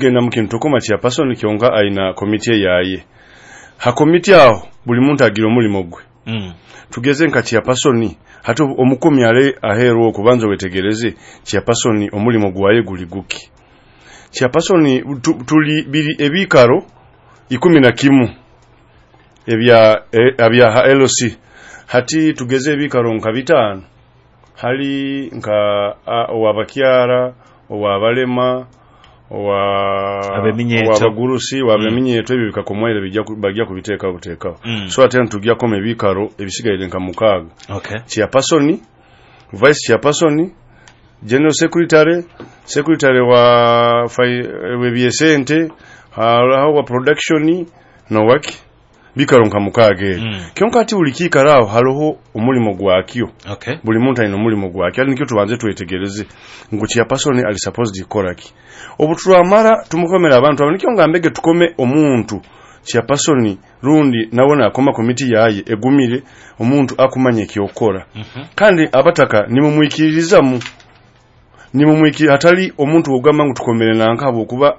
Genda mu kintu tokoma chairperson kyonka aina komiti yaye. Ha komiti aho buli muntu agira omulimo gwe. Tugeze nka chairperson, hati omukomi ale aheerwa okubanza wetegereze chairperson omulimo gwaye guli guki. Chairperson tuli biri ebikaro 11 ebya ebya LC. Hati tugeze ebikaro nka 5 hali nka owabakyara, owabalema, owabagurusi, wabeminyeto, ebyo bikakomwaire bijja bajja kubiteekaho buteekaho. So ate ntujja koma ebikaro ebisigaire nka 6. Chairperson, vice chairperson, general secretary, secretary wa webyesente, halaho wa production no waki bikaro nka 6 ebyo. Kyonka ati buli kiikaro aho hariho omulimo gwakyo. Buli muntu alina omulimo gwakyo. Ati nikyo tubanze twetegereze ngu chairperson ali supposed kukora ki. Obu turamara tumukomera abantu abo, nikyo ngambege tukome omuntu chairperson rundi nawe nakoma komiti yaye egumire, omuntu akumanya ekyokukora. Kandi abataka nimumwikiririzamu, nimumwikiri hatali omuntu ogamba ngu tukomere nanka habwokuba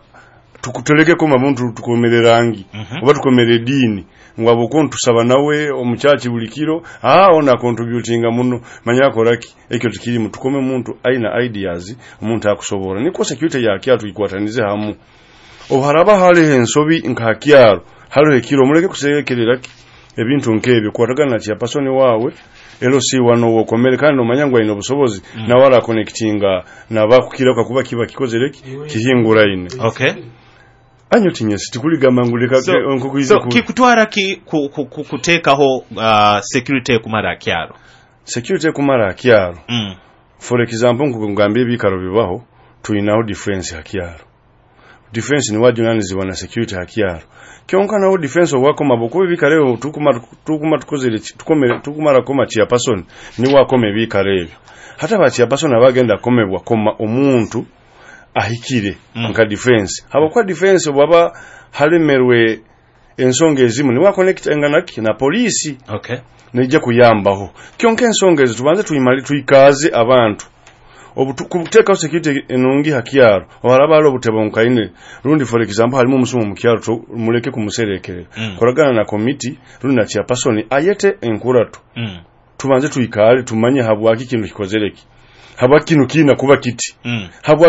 tukuteleke koma muntu tukomere rangi oba tukomere ediini ngu habwokuba ntusaba nawe omuchachi buli kiro, ona contributinga muno manya akoraki. Ekyo tikirimu. Tukome omuntu aina ideas, omuntu akusobora niko security ya kyaro tuyikwatanize hamu. Oharaba hariho ensobi nka kyaro, hariho ekiro, muleke kusekerera ebintu nk'ebyo. Kwatagana na chairperson wawe LC wano wokomere, kandi omanya ngu aine obusobozi nawe arakonectinga nabakukira kakuba kiba kikozere kihinguraine. Anyo tinyesi tikuligamba ngu leka So kikutwara ki kuteekaho security kumara kyaro? Security kumara kyaro. For example, nkugambye ebikaro bibaho, tuinaho defense ha kyaro. Defense ni wajunanizibwa na security ha kyaro. Kyonka naho defense owakoma bokuba ebikaro ebyo tukuma tukozere tukomere tukumara koma chairperson ni wakoma ebikaro ebyo. Hata ba chairperson abagenda komebwa koma omuntu ahikire nka defense. Habwokuba defense bwaba halemerwe ensonga ezimu ni wakonecta enganaki na polisi. Neija kuyambaho. Kyonka ensonga ezo tubanze tuyimale tuikaze abantu. Obutukuteeka security enungi ha kyaro, oharaba hali obutebo nkaine rundi, for example, halimu omusumo mu kyaro, muleke kumuserekerera. Koragana na committee rundi na chairperson ayete enkurato. Tubanze tuikale tumanye habwaki kino kikozereki, habwaki kino kina kuba kiti. Habwaki